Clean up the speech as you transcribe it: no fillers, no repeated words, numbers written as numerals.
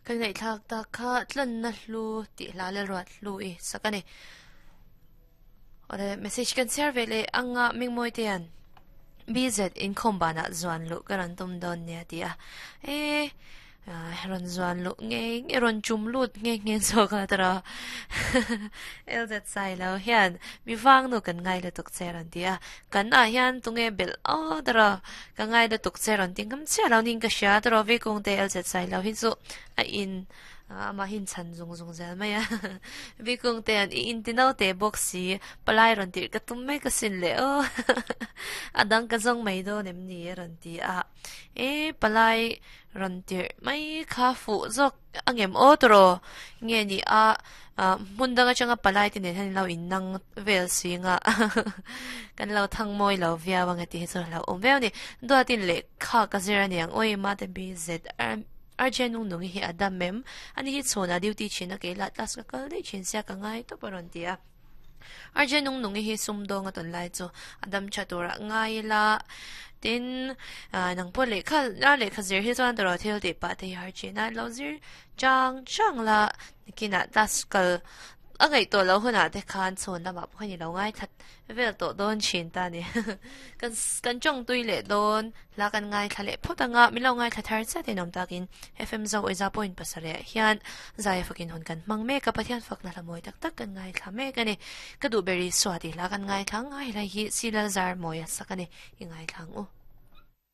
Kan ngaihthlak tak kha tlanna hlu tih hla leh ruat hlu i sak a ni. Awle message kan chhiar ve leh anga Mingmawi te hian BZ inkhawm banah zuan luh ka rawn tum dawn nia ti a. E rawn zuan luh nge nge rawn chum lut nge nge zawk a tawrh a. LZ sai lo hian mi vang nu kan ngai lutuk che rawn ti a. Kan ah hian tunge belh aw tawrh a. Ka ngai lutuk che rawn ti ngam chiah lo niin ka hria tawrh a. Vikung te LZ sai lo hi chu a in Amah hi inchhan zung zung zel mai a. Vikung te an i inti no teh bawk si, palai rawn tirh ka tum mai ka sin leh aw. A dang ka zawng mai dawn em ni a rawn ti a. E, palai rawn tirh mai kha fuh zawk a ngem aw tawraw nge ni a, hmun dang atanga palai te nen hian in lo innang vel si nga. Kan lo thang mawi lo viau ang e tih hi chu a hlauhawm viau a ni. Duatin lehkha ka zir a niang awi mate BZ. Arjun nung nungi hi a dam em? Ani hi chhunah duty thin a kei lah class ka kal daih thin sia ka ngai tawp a rawn ti a. Arjun nung nungi hi sumdawng a tawn lai chu a dam tha turah ngai ila tin nang pawh lehkha a lehkha zir hi chuan tawrh thil tih pah te hi har thin a lo zir chang chang la nikinah class kal a ngaih tawh loh hunah te khan chhun lamah pawh khan i lo ngaithla vel tawh dawn thin ta ni. Kan kan tawng tui leh dawn hla kan ngaithla leh phawt anga min lo ngaithla thar chiat in awm takin FM Zo Awihza point pasarih ah hian zai fakin hun kan hmang mek a Pathian fakna hla mawi tak tak kan ngaithla mek a ni. Ka duh ber Isua tih hla kan ngaithla ang a helai hi Silal Zar mawi a sak a ni i ngaithla ang u.